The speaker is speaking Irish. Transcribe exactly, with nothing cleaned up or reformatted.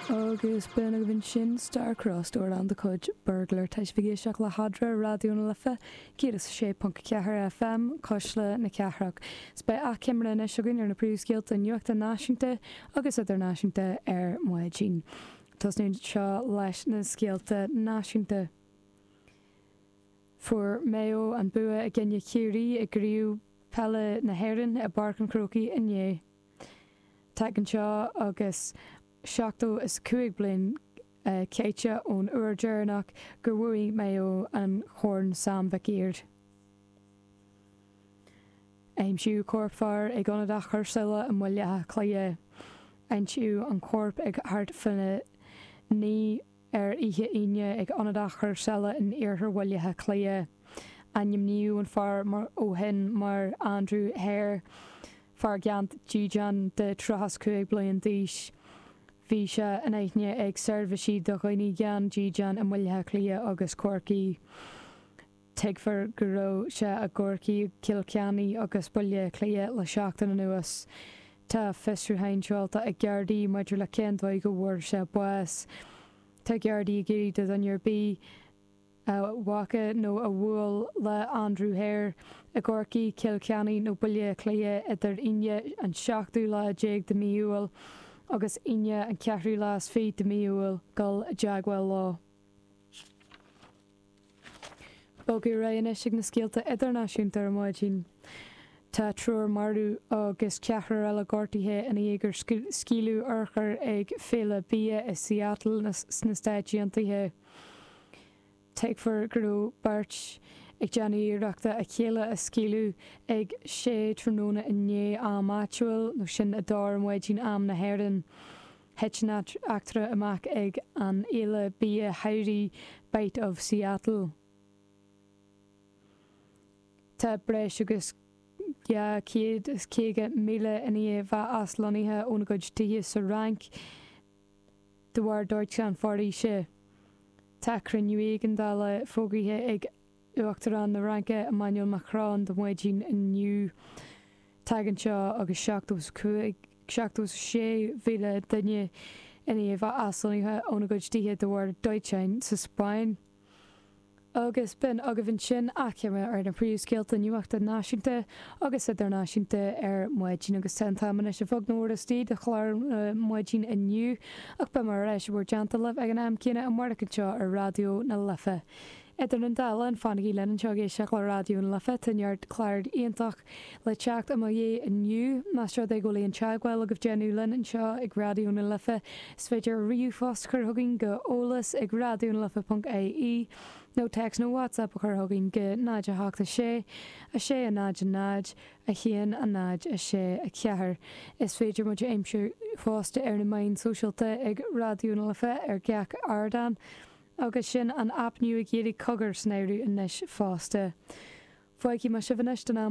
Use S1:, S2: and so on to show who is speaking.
S1: Agus b'in agaibh ansin Star-Crossed amhrán de chuid Burglar tá sibh ag éisteacht le hAdra Raidió na Life céad is sé ponc ceathair FM Cuisle na Cathrach. 'S beidh achoimre anois againn ar na príomhscéalta nuachta náisiúnta agus idirnáisiúnta ar maidin. Tosnú seo leis na scéalta náisiúnta. Fuair Maigh Eo an bua i gcoinne Chiarraí i gcraobh peile na hÉireann i bPáirc an Chrócaigh inné. Tagann seo agus seachtó is cúig bliain caite ón uair dheireanach gur bhuaigh Maigh Eo an Chorn Sam Mhic Uidhir. Aimsíodh corp fear ag ionad athchúrsála i mBaile Átha Cliath. Aimsíodh an corp ag thart faoina naoi ar oíche Aoine ag ionad athchúrsála in iarthar Bhaile Átha Cliath. Ainmníodh an fear ó shin mar Andrew Hare, fear gan dídean de tríocha cúig bliain d'aois. Bhí sé in aithne ag seirbhísí do dhaoine gan dídean i mBaile Átha Cliath agus Corcaigh. Tuigtear go raibh sé i gCorcaigh, Cill Chainnigh agus Baile Átha Cliath le seachtain anuas. Tá fiosrúchán seolta ag Gardaí maidir le cén dóigh go bhfuair sé bás. Tá Gardaí ag iarraidh do dhuine ar bith a bhfaca nó a bhuail le Andrew Hare i gCorcaigh, Cill Chainnigh nó Baile Átha Cliath idir Aoine an seachtú lá déag de mhí Iúil agus Aoine an ceathrú lá is fiche de mhí Iúil dul i dteagmháil leo. Bogadh ar aghaidh anois ag na scéalta idirnáisiúnta ar maidin. Tá triúr marbh agus ceathrar eile gortaithe i ndiaidh gur scaoileadh urchar ag féile bia i Seattle sna Stáit Aontaithe. Tuigtear go raibh beirt ag déanamh iarrachta a chéile a scaoileadh ag sé tráthnóna inné am áitiúil nó sin a dó ar maidin am na hÉireann. Thit an eachtra amach ag an fhéile bia shamhraidh Bite of Seattle. Tá breis agus dhá chéad is caoga míle i ndiaidh bheith aslonnaithe óna gcuid tithe sa Fhrainc de bharr dóiteán foraoise. Tá cruinniú éigeandála fógraithe ag Uachtarán na Fraince Emmanuel Macron do mhaidin inniu. Tagann seo agus seachtó seachtó sé mhíle duine i ndiaidh bheith aslonnaithe óna gcuid tithe de bharr dóiteáin sa Spáinn. Agus b'in agaibh ansin achoimre ar na príomhscéalta nuachta náisiúnta agus idirnáisiúnta ar maidin agus tá an t-am anois a bheag nó istigh de chlár maidin inniu ach beidh mé ar ais i bhur dteannta libh ag an am céanna amárach anseo ar Raidió na Life. Idir an dá linn fanaigí linn anseo ag éisteacht le Raidió na Life tá neart clár iontach le teacht i mo dhiaidh inniu más rud é go bhfuil aon teagmháil agaibh déanamh linn anseo ag Raidió na Life is féidir ríomhphost a chur chugainn go eolas ag radionalife.ie nó text nó WhatsApp a chur chugainn go náid a hocht a sé a sé a náid a náid a haon a náid a sé a ceathair. Is féidir muid a aimsiú fosta ar na meáin sóisialta ag Raidió na Life ar gach ardán, agus sin an aip nua Gaeilge Cogar san áireamh anois fosta. Fágfaidh mé sibh anois don am